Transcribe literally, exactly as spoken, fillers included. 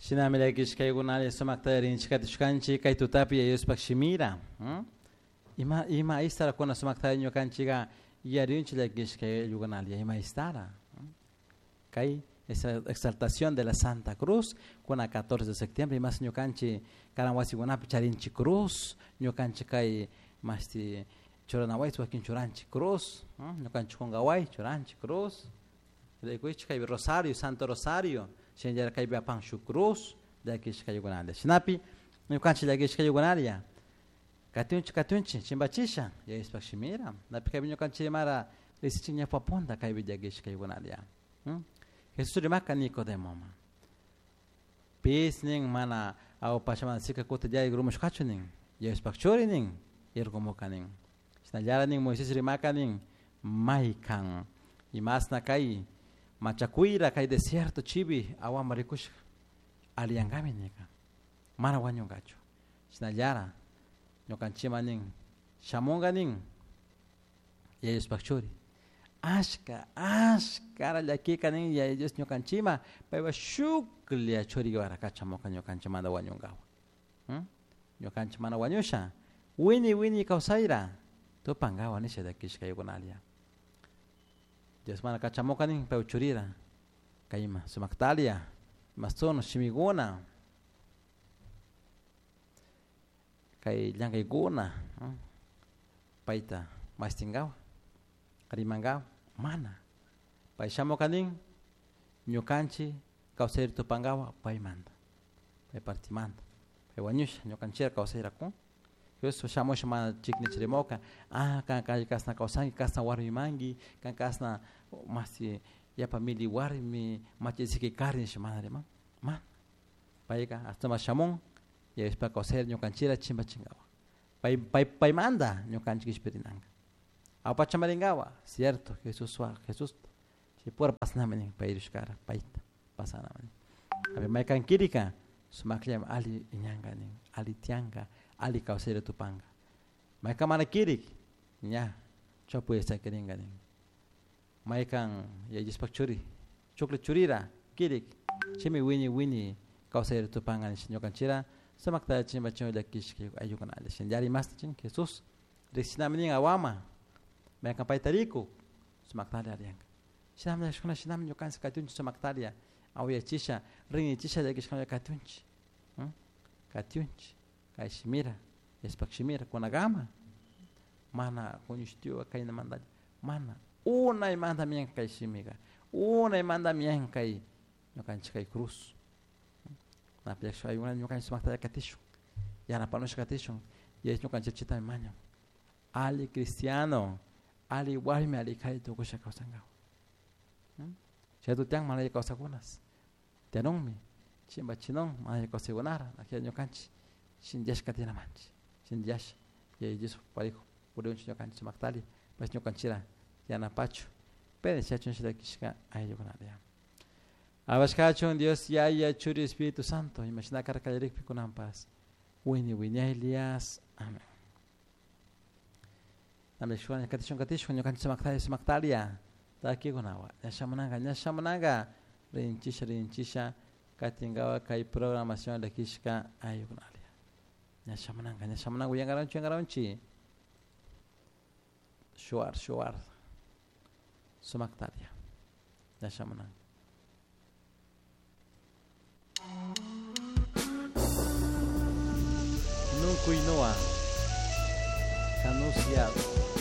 Shinami llakishkaykunalla sumakta rinchikatishkanchik kay tutapi Yayushpak shimira. Ima ima istara kuna sumakta ñukanchika yarinchik llakishkaykunalla ima istara. Kay esa exaltación de la Santa Cruz kuna catorce de septiembre imas ñukanchik karan wasikunapi charinchik cruz ñukanchik kay masti churanaway wakin churanchik cruz ñukanchik kunkaway churanchik cruz rikuychik kay rosario Santo Rosario shinallara kaypi apan shuk cruz llakishkaykunalla shinapi ñukanchik llakishkaykunalla katunchik katunchik chimbachisha Yayushpak shimira napi kaypi ñukanchik imara risichik ñawpapunta kaypi llakishkaykunalla. Jesús rimaka Nicodemoma pis nin mana awpachaman sika kuta llay grumushkachu nin Yayushpak churi nin irgumuka nin shinallara nin Moisés rimaka nin maykan imasna kay machakuyra kay desierto chibi awama rikushka aliyankami nika mana wañunkachu shinallara ñukanchikman nin shamunka nin Yayushpak churi ashka ashkara llakika nin Yaya Dios ñukanchikman paypa shuklla churiwara kachamuka ñukanchikmanta wañunkawa ñukanchik mana wañusha wini wini kawsayra tupankawa nisha llakishkaykunalla Dios mana kachamuka nin paypa churira kayma sumaktalia masuno shimikuna kay llankaykuna payta mastinkawa rimankawa mana pay shamuka nin ñukanchik kawsayri tupankawa paymanta pay partimanta pay wañusha ñukanchikra kawsayra kun Jesús shamusha mana chiknichirimuka ah kan kay kasna kawsanki kasna warmimanki kan kasna masi yapa mili warmi machisiki kari nisha mana riman mana payka hasta shamun Yayushpak kawsayri ñukanchikra chimpachinkawa pay pay paymanta ñukanchik kishpirinanka awpachamarinkawa cierto Jesús Jesús chaypura pasanami nin pay rishkara payta pasanami nin maykan kirika sumakllami alli iñanka nin alli tiyanka alli kawsayri tupanka maykan mana kirik ña chawpi sakirinka nin maykan Yaya Dioshpak churi chuklla churira kirik chaymi wiñay wiñay kawsayri tupanka nisha ñukanchikra sumakta chimpachun llakishka ayllukunalla shinallara imasta chin Jesús rikshinami nin awama maykan payta rikuk sumaktalla ariyanka shinami llakishkuna shinami ñukanchik katunchik sumaktalla awayachisha rinrichisha llakishkuna katunchik katunchik kay shimira Yayushpak shimira kunakama mana kuñushtiwa kaynamantalla mana unaymanta miyanka kay shimika unaymanta miyanka kay ñukanchik kay cruz napi llakishka ayllukunalla ñukanchik sumaktalla katishun yanapanusha katishun Yaya ñukanchik chaytami mañan alli cristiano alli warmi alli kari tukusha kawsankawa chay tutiyan mana alli kawsakunas tiyanunmi chimpachinun mana alli kawsaykunara akilla ñukanchik shinllasha katinamanchik shinllasha Yaya Dios parijo puriyunchik ñukanchik sumaktalla paysh ñukanchikra yanapachu pero chaychun llakishka ayllukunalla Abashkachun Dios Yaya Churi Espíritu Santo imashina karka kallarikpi kunanpas wini wiñaylias amén. Namlishwan katishun katishun ñukanchik sumaktalla sumaktalia takikunawa ña shamunanka ña shamunanka rinchisha rinchisha katinkawa kay programación llakishka ayllukunalla ña shamunanka ña shamunanka uyankaranchik uyankaranchik shuwar shuwar sumaktalia ña shamunanka. Nunkuy Noa Canusiado.